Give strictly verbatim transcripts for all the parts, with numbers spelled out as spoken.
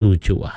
Tujuh.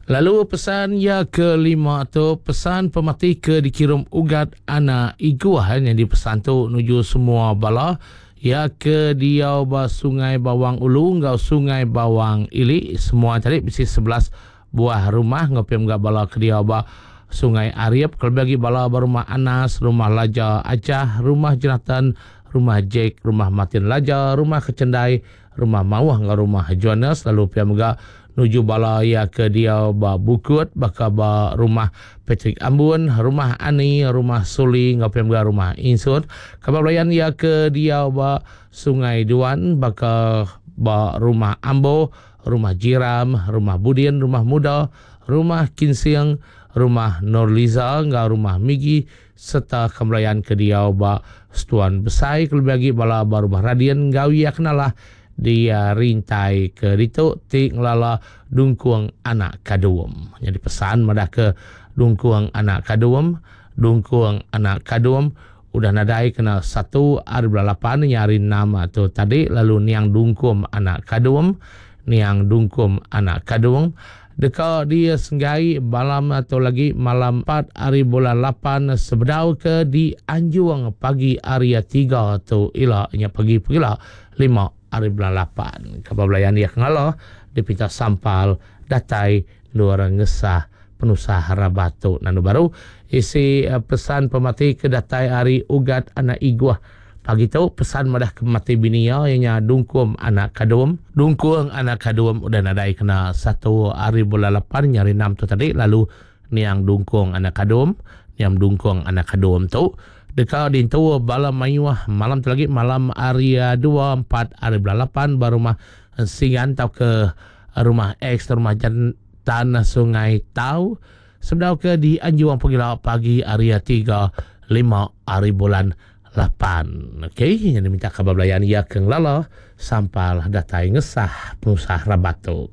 Lalu pesan iya ke lima tu pesan pemati ke dikirum Ugat anak Iguh yang dipesan tu nuju semua bala ya ke diau ba Sungai Bawang Ulu enggau Sungai Bawang Ili, semua tadi bisi sebelas buah rumah, enggau pia mega bala ke diau ba Sungai Ariep, kelebih agi bala ba rumah Anas, rumah Laja Acah, rumah Jonathan, rumah Jack, rumah Martin Laja, rumah Kecendai, rumah Mauh enggau rumah Jonas. Lalu pia mega nuju bala iya ke diau ba Bukut baka ba rumah Patrick Ambun, rumah Ani, rumah Suli enggau pia mega rumah Insut. Kaban belayan iya ke diau ba Sungai Duan baka ba rumah Ambo, rumah Jiram, rumah Budin, rumah Muda, rumah Kinsing, rumah Norliza enggau rumah Migi, serta kaban belayan ke diau ba Setuan Besai kelebih agi bala ba rumah Radin enggau iya kenalah di rintai ke ditu ti ngelala Dungkung anak Kadum. Jadi pesan madah ke Dungkung anak Kadum, Dungkung anak Kadum udah nadai kena satu hari bulan lapan hari enam tu tadi. Lalu niang Dungkum anak Kadum, niang Dungkum anak Kadung deka dia senggai malam atau lagi malam empat hari bulan lapan sebedau ke di Anjung pagi hari tiga tu ila nya pagi pegila lima hari bulan lapan. Kabar belayan dia kenala dipinta sampal datai luar ngesah penusah rabatu. Nanu baru isi pesan pemati ke datai hari Ugat anak Iguh pagi tu pesan madah ke mati bini iya nya Dungkum anak Kadum. Dungkung anak Kadum udah nadai kena satu hari bulan lapan nyari enam tu tadi. Lalu niang Dungkung anak Kadum, niang Dungkung anak Kadum tu deka dintu bala mayuh malam tu lagi malam hari dua empat hari bulan lapan ba rumah Singan tau ke rumah X rumah Jantan Sungai Tau sebedau ke di Anjuang pegila pagi hari tiga lima hari bulan lapan. Okey, yang diminta kabar belayan ia ke ngelala sampal datai ngesah penusah rabat tu.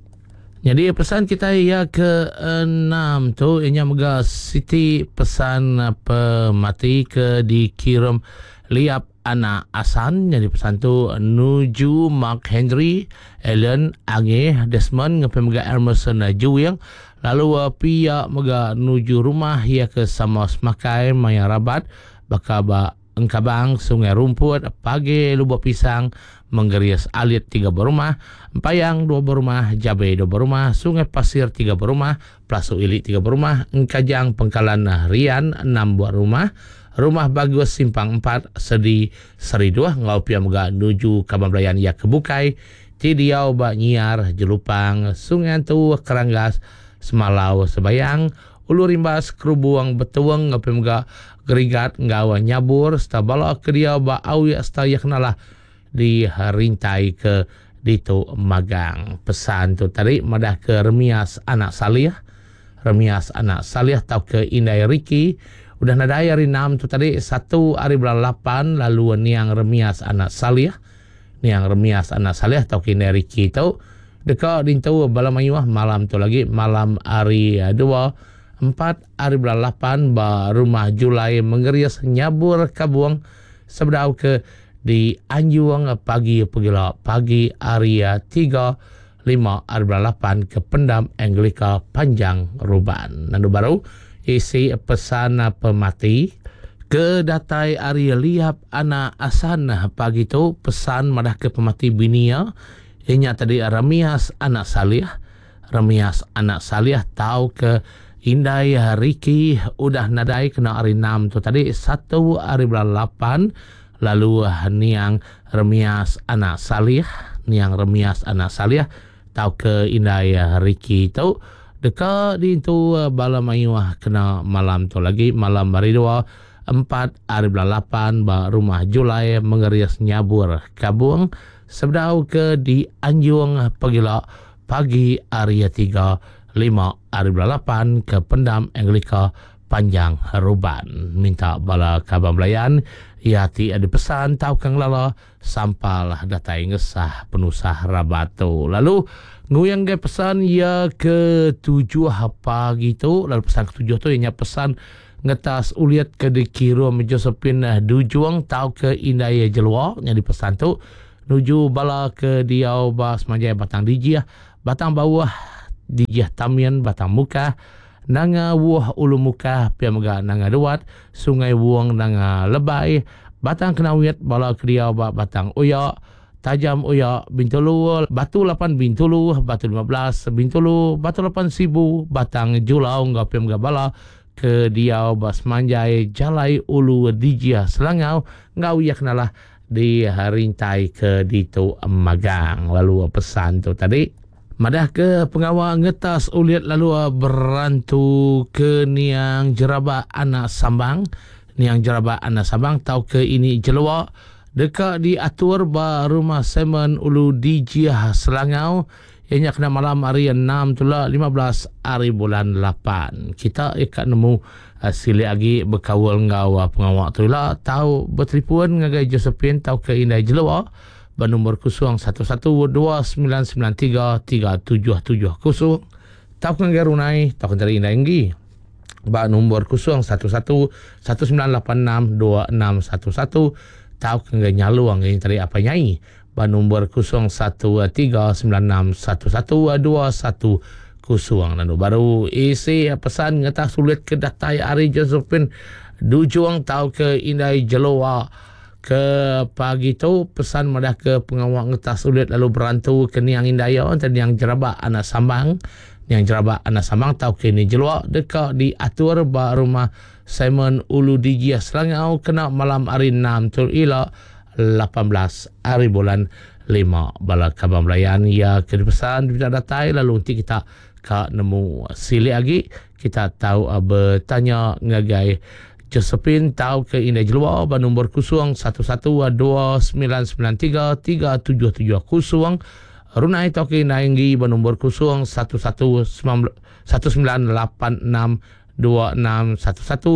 Jadi pesan kita ia ke enam tu ianya mega siti pesan pemati ke dikirim Liap anak Asan. Jadi pesan tu nuju Mark Henry, Allen, Ange, Desmond ngapai mega Emerson Juwing. Lalu pia mega nuju rumah ia ke sama semakai maya rabat baka ba Engkabang, Sungai Rumput, Pagi Lubuk Pisang, Menggeris Alit tiga berumah, Empayang dua berumah, Jabe dua berumah, Sungai Pasir tiga berumah, Pelasu Ili tiga berumah, Engkajang Pengkalan Rian enam buah rumah, Rumah Bagus Simpang empat, Sedi Seri dua, ngau pia mega nuju Kaban Belayan ia kebukai, ti diau ba Nyiar, Jelupang, Sungai Antu, Keranggas, Semalau, Sebayang, Ulu Rimbas, Kerubung, Betuang, ngau pia mega Gerigat, ngau Nyabur, serta bala ke dia ba Awiak serta ia kenalah di rintai ke ditu magang. Pesan tu tadi madah ke Remias anak Salih, Remias anak Salih tau ke Indai Riki udah nadai hari enam tu tadi satu hari bulan lapan. Lalu niang Remias anak Salih, niang Remias anak Salih tau ke Indai Riki tu deka dintu bala mayuh malam tu lagi malam hari dua empat hari bulan lapan ba rumah Julai Menggeris Nyabur Kabung sebedau ke di Anjuang pagi pegila pagi hari tiga lima hari bulan lapan ke Pendam Anglika Panjang Ruban. Nandu baru isi pesan pemati ke datai hari Liap anak Asan pagi tu pesan madah ke pemati binia inya tadi Ramias anak Salih, Ramias anak Salih tau ke Indai Riki udah nadai kena hari enam tu tadi satu hari bulan lapan. Lalu niang Remias anak Salih, niang Remias anak Salih tau ke Indai Riki tu deka dintu bala mayuh kena malam tu lagi malam hari dua empat hari bulan lapan ba rumah Julai Menggeris Nyabur Kabung sebedau ke di Anjung pegila pagi hari tiga lima hari bulan lapan ke Pendam Anglika Panjang Ruban. Minta bala kaban belayan ia ti ada pesan tau kang lala sampal datai ngesah penusah rabat tu. Lalu nguyang ge pesan ia ke tujuh pagi tu. Lalu pesan ketujuh tu ianya pesan ngetas uliat ke dikirum Josephine Dujung tau ke Indai Jelua. Jadi pesan tu nuju bala ke diau ba semanjai Batang Dijih, Batang Bawah, Dijih Tamian Batang Mukah, Nanga Wuh Ulu Mukah, pia mega Nanga Duat, Sungai Wong Nanga Lebai, Batang Kenawit, bala ke diau ba Batang Oya, Tajam Oya, Bintulu, Batu lapan Bintulu, Batu lima belas Bintulu, Batu lapan Sibu, Batang Julau enggau pia mega bala ke diau ba semanjai Jalai Ulu Dijih Selangau enggau iya kenalah di rintai ke ditu magang. Lalu pesan tu tadi madah ke pengawa ngetas ulit lalu berantu ke niang Jeraba Anak Sambang, niang Jeraba Anak Sambang tau ke ini Jelua deka diatur ba Rumah Simon Ulu Dijih Selangau, ianya kena malam hari enam tula lima belas hari bulan lapan. Kita ikat nemu uh, silik lagi berkaul enggau uh, pengawa tu lah, tau bertelefon ngagai Josephine tau ke Indai Jelua bernombor kosong satu satu dua sembilan sembilan tiga tiga tujuh tujuh kosong, tau ke ngagai Runai tau ke dari Indai Enggi ba nombor kosong satu satu satu sembilan lapan enam dua enam satu satu, tau ke ngagai Nyalung yang tadi apa nyai ba nombor kosong satu tiga sembilan enam satu satu dua satu kosong. Lalu baru isi pesan ngetah sulit ke datai ari Josephine Dujung tau ke Indai Jelua ke pagi tu pesan madah ke pengawa ngetah sulit lalu berantu ke niang Indai entah niang Jeraba Anak Sambang, niang Jeraba Anak Sambang tau ke ini Jelua deka diatur ba Rumah Simon Ulu Dijih Selangau kena malam hari enam tu ila lapan belas hari bulan lima. Bala kaban belayan ia ke dipesan diminta datai lalu nanti kita ka nemu silik lagi kita tahu uh, bertanya ngagai Josephine tau ke Indai Jelua ba nombor kosong satu satu dua sembilan sembilan tiga tiga tujuh tujuh kosong, Runai tau ke Indai Enggi ba nombor kosong satu satu satu sembilan lapan enam dua enam satu satu,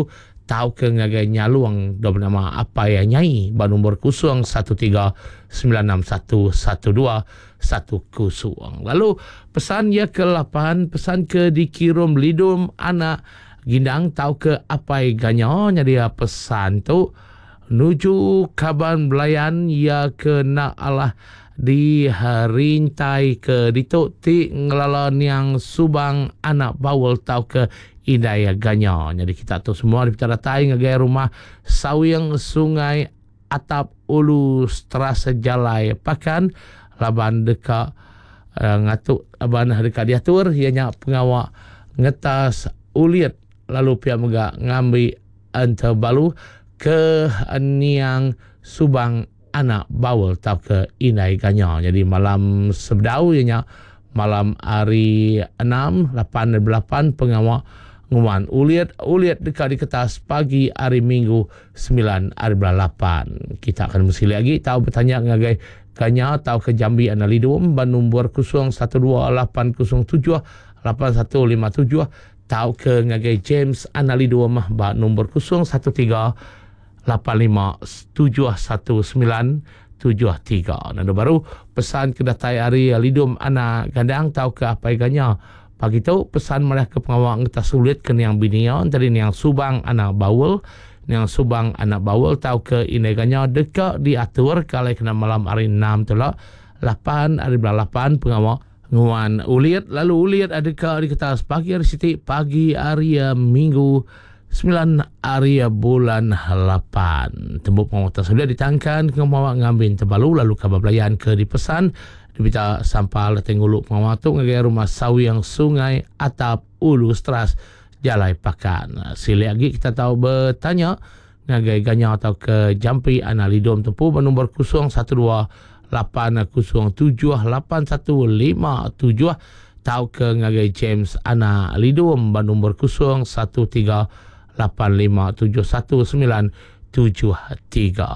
tau ke ngagai Nyalung do bernama apa ya nyai ba nombor kosong satu tiga sembilan enam satu satu dua satu kosong. Lalu pesan ya ke lapan, pesan ke dikirim Lidum Anak Gindang tau ke Apai Ganya, jadi pesan tu nuju kaban belayan ya ke nak Allah di rintai ke ditu ti ngelala niang Subang Anak Bawul tau ke Indai Ganya. Jadi kita tu semua dipita datai ngagai Rumah Sawing Sungai Atap Ulu Teras Jalai Pakan laban deka uh, ngatuk laban deka diatur ianya pengawa ngetas ulit lalu pihak mega ngambi entebalu ke niang Subang Anak Bawul tau ke Indai Ganya. Jadi malam sebedau ianya malam hari enam lapan lapan pengawa nguman ulit ulit dekat di kertas pagi hari Minggu sembilan hari bulan lapan. Kita akan mesti lagi tahu bertanya ngagai Ganya tau ke Jambi Analidum ban nombor kosong satu dua lapan kosong tujuh lapan satu lima tujuh, tau ke ngagai James Analidum ban nombor kosong satu tiga lapan lima tujuh satu sembilan tujuh tiga. Nando baru pesan ke datai hari Lidum Anak Gandang tau ke Apai Ganya. Pagi tu pesan malah ke pengawal ngetas sulit ke niang binion tadi niang Subang Anak Bawul, niang Subang Anak Bawul tau ke Indai Ganya deka diatur kalau kena malam hari enam tu lah lapan hari bulan lapan pengawal nguan ulit lalu ulit ada ke di kertas pagi hari Siti pagi hari Minggu sembilan hari bulan lapan. Tembuk pengawal sudah ditangkan ke pengawal ngambil terbalu lalu kabar belayan ke dipesan dipita sampal tengguluk pengawal tu ngagai Rumah Sawiang Sungai Atap Ulu Teras Jalai Pakan. Silik lagi kita tahu bertanya ngagai Ganya atau ke Jampi Analidom tempu bernombor kosong satu dua lapan kosong tujuh lapan satu lima tujuh, tau ke ngagai James Analidom bernombor kosong satu tiga lapan lima tujuh satu sembilan tujuh tiga.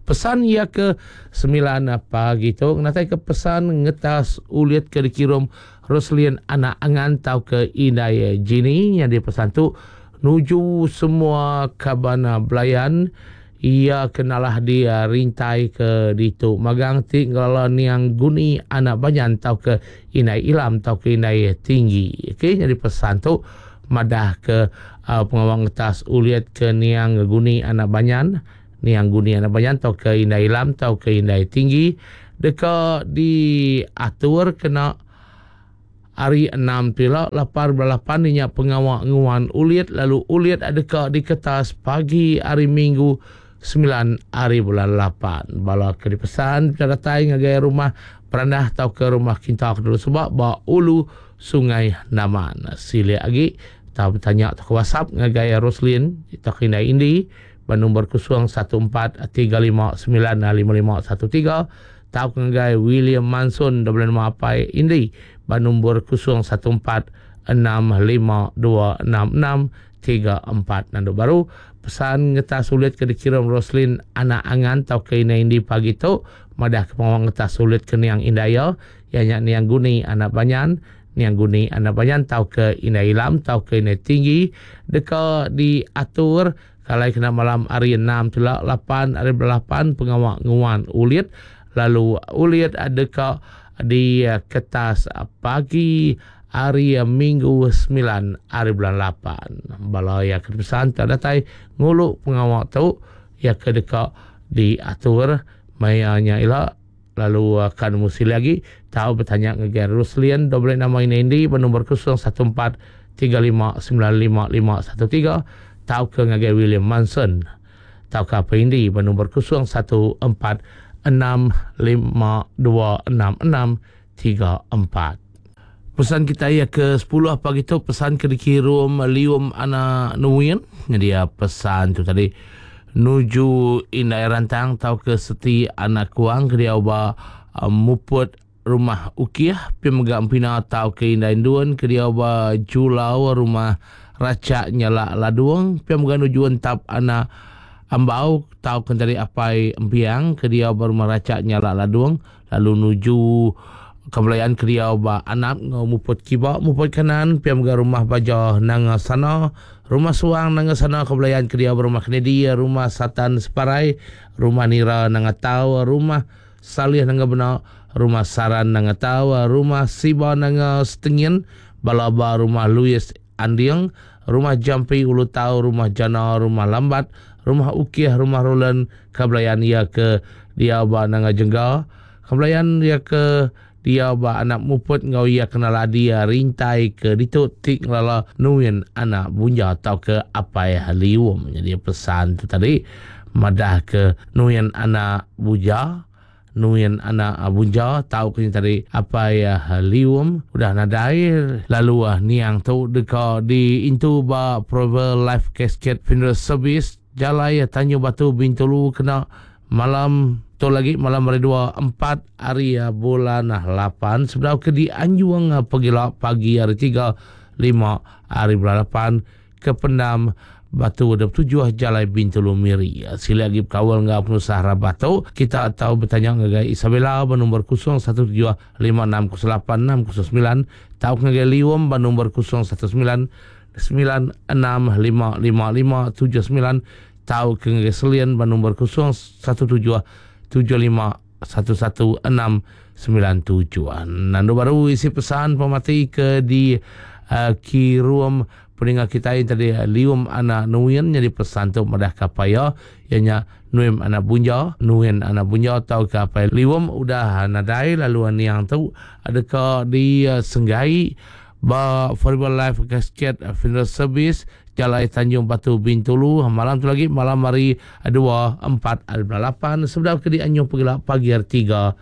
Pesan ya ke sembilan pagi tu natai ke pesan ngetas ulit ke dikirim Roslin Anak Angan tau ke Indai Jini yang dipesan tu nuju semua kabana belayan ia kenalah dia rintai ke ditu magang ti ngelala niang Guni Anak Banyan tau ke Indai Ilam tau ke Indai Tinggi. Okey, jadi pesan tu madah ke uh, pengawang ngetas uliat ke niang Guni Anak Banyan, niang Guni Anak Banyan tau ke Indai Ilam tau ke Indai Tinggi deka diatur kena hari enam tila lapar belapan nya pengawa nguan ulit lalu ulit adeka diketas pagi hari Minggu sembilan hari bulan lapan. Bala ke dipesan datai ngagai rumah perandah atau ke rumah kinta dulu sebab ba ulu Sungai Naman. Silik lagi tau bertanya atau ke WhatsApp ngagai Roslin atau ke Indai Indi ba nombor kosong satu empat tiga lima sembilan lima lima satu tiga tau ke ngagai William Manson double nama apai Indi ba nombor kosong satu empat enam lima dua enam enam tiga empat. Nandu baru pesan ngetas sulit ke dikirim Roslin anak angan tau ke Indai Indi pagi tu madah ke pengawang ngetas sulit ke niang Indaya ianya niang Guni anak Banyan niang Guni anak Banyan tau ke Indai Ilam tau ke Indai Tinggi deka diatur kalai kena malam hari enam tila lapan hari lapan pengawang nguan ulit lalu ulit deka di ketas pagi hari Minggu sembilan hari bulan lapan. Bala yang kepesan tak datai nguluk pengawak tu ya ke deka diatur mayanya ila lalu akan musil lagi tahu bertanya ngagai Roslin double nama ini Indi bernombor kosong satu empat tiga lima sembilan lima lima satu tiga tahu ke ngagai William Manson tahu ke apa Indi bernombor kosong satu empat enam lima dua enam enam tiga empat. Pesan kita ya ke sepuluh pagi tu pesan ke dikirim Lium anak Nuin. Jadi ya pesan tu tadi nuju Indai Rantang tau ke Seti anak Kuang ke dia ba uh, muput rumah Ukiah pi mega empina tau ke Indai Duan ke dia ba Julau rumah Racak Nyala Laduang pi mega nuju entap anak Ambau tau ke tadi apai Empiang ke dia ba rumah Racak Nyala Laduang lalu nuju kebelayaan kriau ba anak ngau muput kiba muput kanan piam ga rumah baja nanga sana rumah suang nanga sana kebelayaan kriau ba rumah Kennedy rumah Satan Separai rumah Nira nanga tau rumah Salih nanga bena rumah Saran nanga tau rumah Siba nanga Setengin balaba rumah Louis Anding rumah Jampi Ulu Tau rumah Jana rumah Lambat rumah Ukih rumah Roland kebelayaan ia ke dia ba nanga Jengga kebelayaan ia ke dia ba anak muput ngau ia kenal dia rintai ke ditu tik ngelala nuin anak bunja atau ke apai lium. Jadi pesan tu tadi madah ke nuin anak buja nuin anak bunja tau ke tadi apai lium udah nadai lalu niang tu deka di intu ba Prover Life Casket Funeral Service Jalai Tanjung Batu Bintulu kena malam tu lagi malam hari dua empat hari bulan lapan sebelum ke di Anjuang pegila pagi hari tiga lima hari bulan lapan ke Pendam Batu dua puluh tujuh Jalai Bintulu Miri. Sila lagi berkawal dengan pengusaha Rabato. Kita tahu bertanya dengan Isabella bernombor kosong satu tujuh lima enam kosong lapan enam kosong sembilan. Tahu dengan Liwom bernombor kosong satu sembilan sembilan enam lima lima lima tujuh sembilan. Tahu dengan Selian bernombor kosong satu tujuh tujuh lima satu satu enam sembilan tujuh. Nandu baru isi pesan pemati ke di uh, kirum pendengar kita yang tadi Lium anak Nuin jadi pesan tu madah kapaya ianya Nuim anak Bunja Nuin anak Bunja atau kapai Lium udah nadai lalu niang tu adakah di uh, Senggai ba Forever Life Casket Funeral Service Jalai Tanjung Batu Bintulu malam tu lagi malam hari dua empat hari bulan lapan sebelum ke di Anjung Pegila pagi hari tiga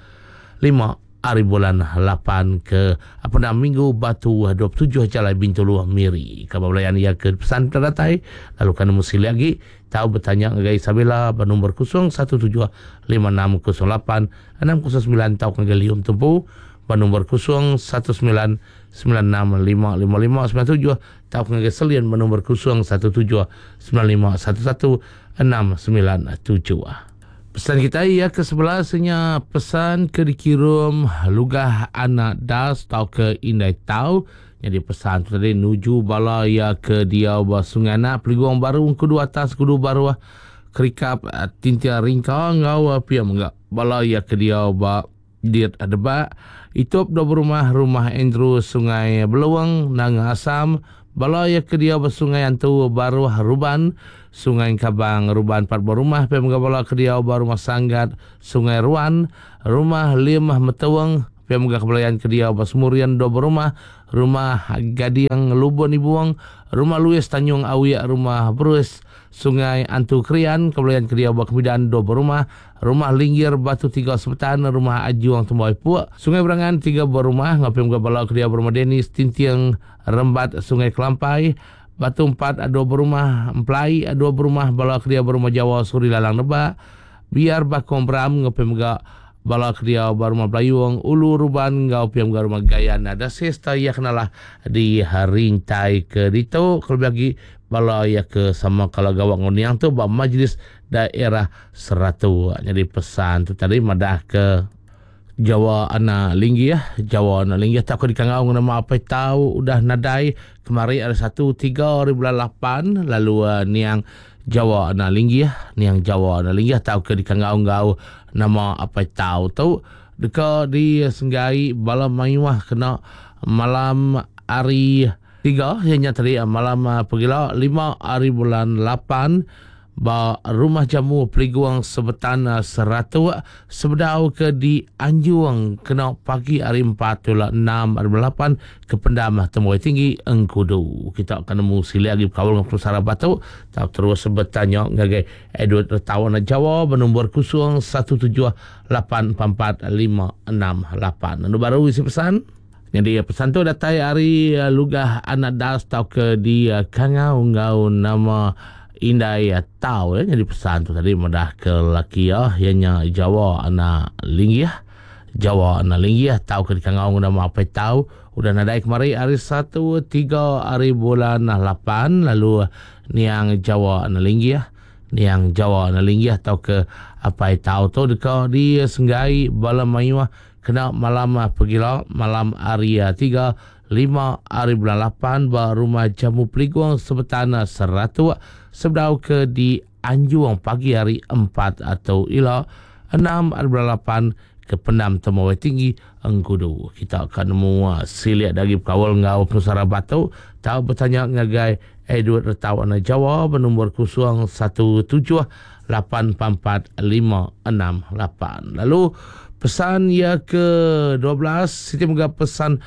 lima hari bulan lapan ke apa nama Minggu Batu dua puluh tujuh Jalai Bintulu Miri. Khabar belayan ia ke pesan terdatai lalu kan mesti lagi tahu bertanya dengan Isabella bernombor kosong satu tujuh lima enam kosong lapan enam kosong sembilan tahu ke Lium Tumpu bernombor kosong satu sembilan sembilan enam lima lima lima sembilan tujuh tahu ke Selian bernombor kosong satu tujuh sembilan lima satu satu enam sembilan tujuh. Pesan kita ia ke sebelasnya pesan ke dikirim lugah anak das tau ke indai tau. Jadi pesan tu tadi nuju bala ia ke dia ba Sungai Anak Peliguang Baru kudu atas kudu baru kerikap tintia ringka ngau pia menggak bala ia ke dia ba diet adeba itup do rumah rumah Andrew Sungai Beluang Nanga Asam bala ia ke dia ba Sungai Antu Baru Ruban Sungai Kabang Ruban empat buah rumah pia menggak bala ke dia ba rumah Sanggat Sungai Ruan rumah Limah Metuang pia menggak kebelayan ke dia ba Semurian dua rumah Rumah Gading Lubun Ibung, Rumah Louis Tanjung Awiak, Rumah Bruce Sungai Antu Krian, Kebelayan Kedia Buah Kemidan dua berumah, Rumah Linggir Batu tiga Sebetan, Rumah Ajuang Tembawai Puak, Sungai Berangan tiga berumah, Ngapim Gabala Kedia Berumah Denis Tintiang Rembat Sungai Kelampai, Batu empat dua berumah, Emplai dua berumah, Bala Kedia Berumah Jawa Suri Lalang Nebak, Biar Bakong Bram, Ngapim Gak Bala Kedia Berumah Belayung, Ulu Ruban, Ngau Piam Gak Rumah Gayan. Ada sesta ia kenalah di rintai ke ditu. Kalau bagi bala ia ke sama kalau gawak ngoniang tu ba majlis daerah Seratu. Jadi pesan tu tadi madah ke Jawa anak linggi ya. Jawa anak linggi tak aku dikangau nama apa tahu udah nadai kemari ada satu tiga hari bulan lapan lalu uh, niang Jawa anak linggi ya. Niang Jawa anak linggi tahu ke dikangau ngau nama apa tahu tu deka di Senggai bala mayuah kena malam hari tiga ianya tadi malam pegila lima hari bulan lapan ba rumah jamu Peliguang Sebetan Seratuk sebedau ke di Anjuang kena pagi hari empat tulah enam hari bulan lapan ke pendam Temuai Tinggi Engkudu. Kita akan nemu sili lagi berkawal dengan Pusara Batu. Tak terus bertanya ngagai Edward Retawan Jawa bernombor kosong satu tujuh lapan empat empat lima enam lapan. Lalu baru isi pesan. Jadi pesan tu datai hari Lugah Anak Das tau ke di Kangau ngau nama Indai Tau ya. Jadi pesan tu tadi madah ke laki ya ianya Jawa anak linggi ya. Jawa anak linggi ya tau ke di Kangau nama apa tau udah nadai kemari hari satu tiga hari bulan lapan lalu niang Jawa anak linggi ya. Niang Jawa anak linggi ya tau ke apa tau tu deka di Senggai bala mayuah kena malam pergila malam hari tiga lima hari bulan lapan ba rumah jamu Peliguang Sebetan Seratuk sebedau ke di Anjuang pagi hari empat atau ila enam hari bulan lapan ke pendam Temuai Tinggi Engkudu. Kita akan nemu siliak dari kawal ngau Pusara Batu tahu bertanya ngagai Edward Retau anak Jawa bernombor kosong satu tujuh lapan empat empat lima enam lapan. Lalu pesan ya ke dua belas Siti moga pesan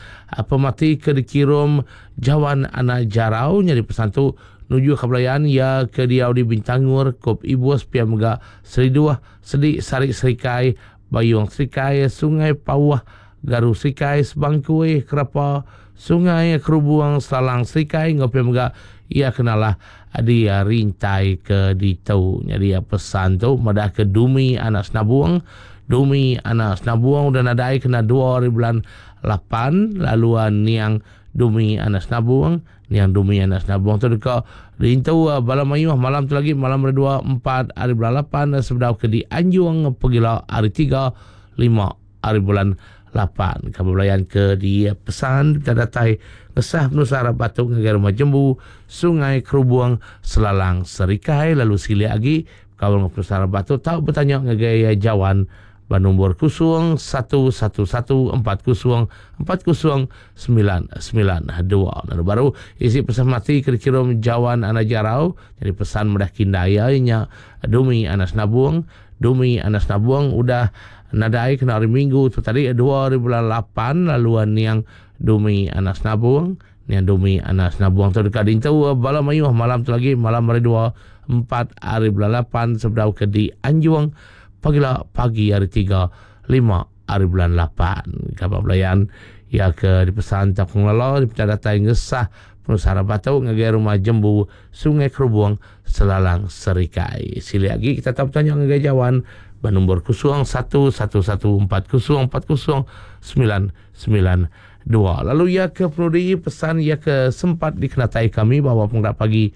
pemati ke dikirim Jawan anak Jarau nyari pesan tu nuju kebelayan ya ke diau di Bintangur Kop Ibus pia mega Seriduah Sedik Sarik Serikai Bayung Serikai Sungai Pauh Garu Serikai Sebangkui Kerapa Sungai Kerubuang Salang Serikai ngau pia mega ia kenalah di rintai ke ditu. Jadi pesan tu madah ke Dumi anak Senabuang. Dumi anak Senabuang udah nadai kena dua hari bulan lapan lalu niang Dumi anak Senabuang niang Dumi anak Senabuang tu dekat rintu bala mayuh malam tu lagi malam hari dua empat hari bulan lapan sebedau ke di Anjuang pergilah hari tiga lima hari bulan lapan. Kamu belayan ke di pesan kita datai ngesah penusara batu ngagai rumah jembu Sungai Kerubuang Selalang Serikai lalu sili lagi kawal penusara batu tahu bertanya ngagai Jawan bernombor kosong satu satu satu empat kosong empat kosong sembilan sembilan dua. Lalu baru isi pesan mati ke dikirim Jawan anak Jarau. Jadi pesan mudah kindaya nya Dumi anak Senabuang. Dumi anak Senabuang udah nadai kena hari Minggu tu tadi dua hari bulan lapan lalu niang Dumi anak Senabuang. Niang Dumi anak Senabuang tu dekat dintu bala mayuh malam tu lagi malam hari dua empat hari bulan lapan sebedau ke di Anjuang pagila pagi hari tiga lima hari bulan lapan. Kabar belayan ya ke dipesan tak pengelola di datai ngesah penusara batu ngagai rumah jembu Sungai Kerubuang Selalang Serikai. Sili lagi kita tak bertanya ngagai Jawan bernombor kosong satu satu satu empat kosong empat kosong sembilan sembilan dua. Lalu ya ke penudi pesan ya ke sempat dikenatai kami bahawa penggerak pagi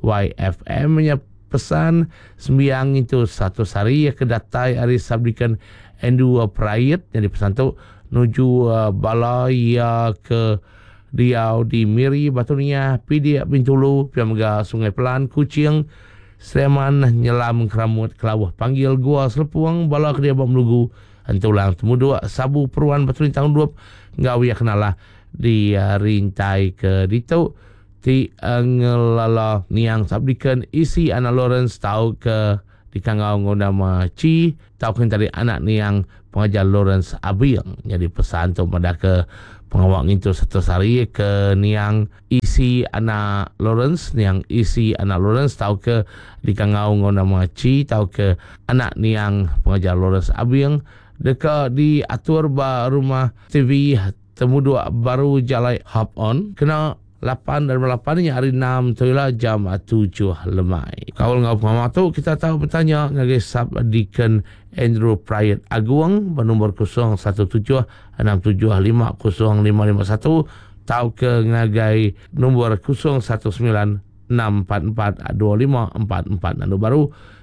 Y F M nya pesan sembiang itu satu sari ya ke datai hari sabdikan Endu Prayit yang dipesan tu nuju uh, bala ya ke diau di Miri Batunia Pidik Bintulu Piamga Sungai Pelan Kuching Sleman Nyelam Keramut Kelawah Panggil Gua Selepuang bala ke dia Melugu Entulang Temuduk Sabu Peruan Batu Lintang Duap ngau ya kenalah di uh, rintai ke ditu ti ngelala niang sabdikan isi anak Lawrence tau ke di kangau nama Ci tau ke tadi anak niang pengajar Lawrence Abiang. Jadi pesan tu pada ke Pengawak ngintu satu sehari ke niang isi anak Lawrence, niang isi anak Lawrence tau ke dikangau ngau nama Ci tau ke anak niang pengajar Lawrence Abing deka diatur ba rumah T V Temuduk Baru Jalai Hop On kena lapan dari lapan ni hari enam tu lah jam tujuh lemai. Kaul ngau pengawak tu kita tahu bertanya ngagai Sub Deacon Andrew Prayet Agung bernombor kosong satu tujuh enam tujuh lima kosong lima lima satu tau ke ngagai nombor kosong satu sembilan enam empat empat dua lima empat empat. Lalu baru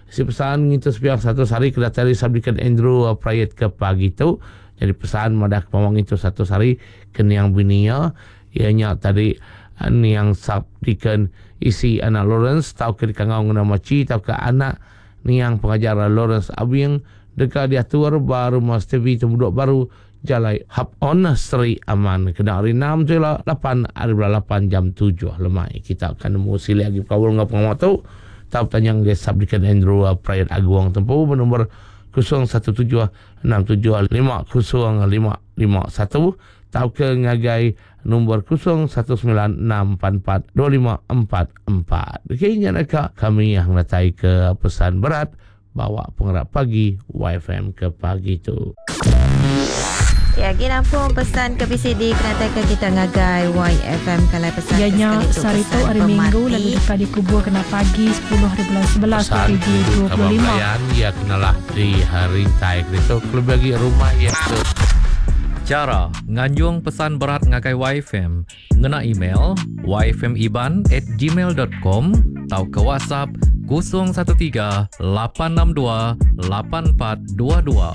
si pesan ngintu sepiak satu hari ke datari Sub Deacon Andrew Prayet ke pagi tu. Jadi pesan madah pengawak ngintu satu hari ke niang binia ianya tadi niang Sub Deacon isi anak Lawrence tau ke dikangau ngena maci tau ke anak niang pengajar Lawrence Abing deka diatur ba rumah Stevie Temuduk Baru Jalai Hap On Seri Aman kena hari enam tu lah lapan hari bulan lapan jam tujuh lemai. Kita akan nemu sili lagi berkaul dengan pengawal tu. Tau tanya dengan Sub Deacon Andrew Prayet Aguang Tempu bernombor kosong satu tujuh enam tujuh lima kosong lima lima satu tau ke ngagai nombor kosong satu sembilan enam empat empat dua lima empat empat. Okey, ingat dekat kami yang datai ke pesan berat bawa pengerak pagi Y F M ke pagi tu. Ya, gila pun pesan ke P C D kena ke kita ngagai Y F M kalau pesan Ya, nya, sekali tu sehari tu pesan hari Minggu, pemati. Lalu dekat dikubur kena pagi sepuluh hari bulan sebelas Pesan dua ribu dua puluh lima. Kebakaran, ya kenalah di hari tai kereta lebih lagi rumah ya ke. Cara nganjung pesan berat ngagai Y F M ngena email y f m iban at gmail dot com atau ke WhatsApp kosong satu tiga lapan enam dua lapan empat dua dua.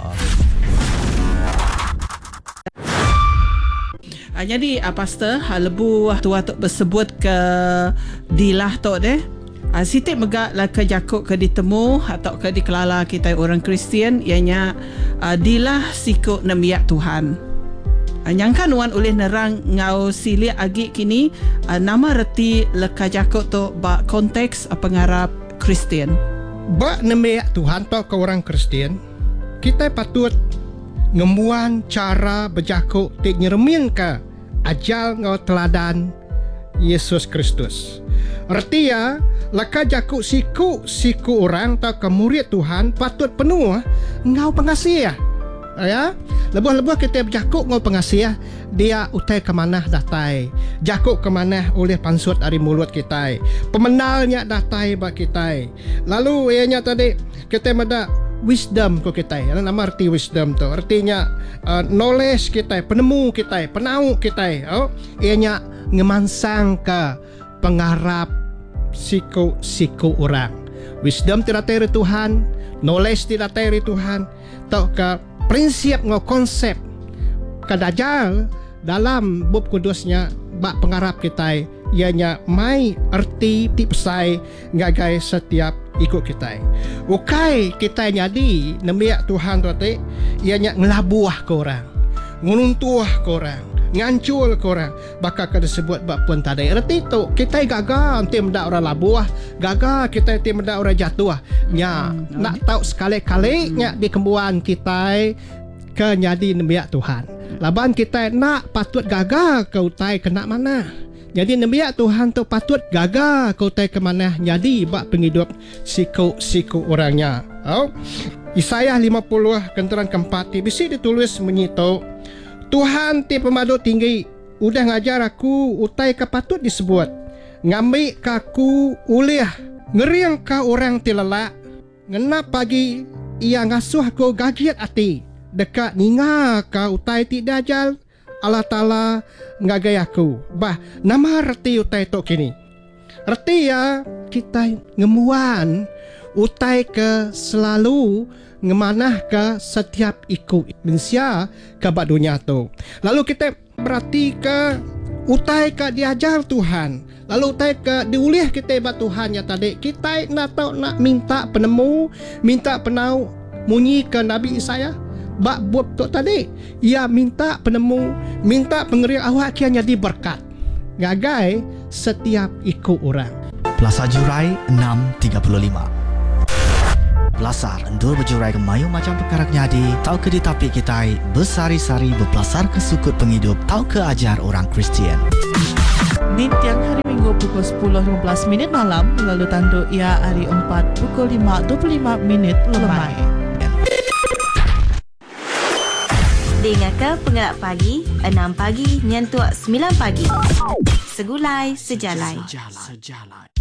Ah, jadi, ah, pastor, ah, lebu tua tok bersebut ke dilah tok deh. Ah, sitik megak lah ke jakuk ke ditemu atau ke dikelala kita orang Kristian ianya, ah, dilah sikuk nemiak Tuhan. Ah, nyangka nuan oleh nerang ngau silik agi kini, ah, nama reti leka jakuk tu ba konteks, ah, pengarap Kristian. Ba nemiak Tuhan tok ke orang Kristian, kita patut ngembuan cara berjakuk ti nyeremin ke ajal ngau teladan Yesus Kristus. Artinya, leka jakuk siku-siku orang atau ke murid Tuhan patut penuh ngau pengasih ya. Ya, lebuh-lebuh kita berjakuk ngau pengasih, dia utai ke manah datai. Jakuk ke manah oleh pansut dari mulut kita. Pemenalnya datai bak kita. Lalu ianya tadi kita meda wisdom ko kita. Ano nama arti wisdom tu? Artinya, uh, knowledge kita, penemu kita, penau kita. Oh, ianya ngemansang ke pengarap siku-siku orang. Wisdom tidak dari Tuhan, knowledge tidak dari Tuhan, tau ke prinsip ngau konsep kadajal dalam bab kudusnya bak pengarap kita ianya mai erti ti pesai ngagai setiap ikut kita. Ukai kita nyadi nemiak Tuhan tu ati ianya ngelabuah ke orang, ngeruntuh ke orang, ngancul ke orang. Bakal kena sebut bab pun tadi. Erti tu kita gagal nanti mendak orang labuah, gagal kita nanti mendak orang jatuh. Nya Hmm, nak tahu sekali-kali Hmm. nya di kembuan kita ke nyadi nemiak Tuhan. Laban kita nak patut gagal ke utai kena mana. Jadi nemiak Tuhan tu patut gagal ke utai ke mana jadi bak penghidup siku-siku orangnya. Oh. Isaiah lima puluh kenteran keempat ti bisi ditulis menyito Tuhan ti pemadu tinggi udah ngajar aku utai ke patut disebut. Ngambil ke aku ulih ngeriang ke orang ti lelak. Ngenap pagi ia ngasuh aku gagiat ati dekat ninga ke utai ti dajal Allah Ta'ala ngagai aku. Bah, nama reti utai tok kini. Reti ya kita ngemuan utai ke selalu ngemanah ke setiap ikut manusia ke bak dunia tu. Lalu kita berarti ke utai ke diajar Tuhan. Lalu utai ke diulih kita bak Tuhan ya tadi. Kita nak tahu nak minta penemu, minta penau munyi ke Nabi Isaiah bak bab tu tadi. Ia minta penemu, minta pengerian awak kia jadi berkat. Gagai setiap ikut orang. Plaza Jurai enam tiga puluh lima. Bepelasar endur bejurai ke mayuh macam perkara nyadi tau ke ditapi kita besari-sari bepelasar ke sukut penghidup tau ke ajar orang Kristian. Nintiang hari Minggu pukul sepuluh lima belas minit malam lalu tanduk ia hari empat pukul lima dua puluh lima minit lemai. Dengar ke Pengelak Pagi, enam pagi nyentuk sembilan pagi. Segulai sejalai. Sejalai.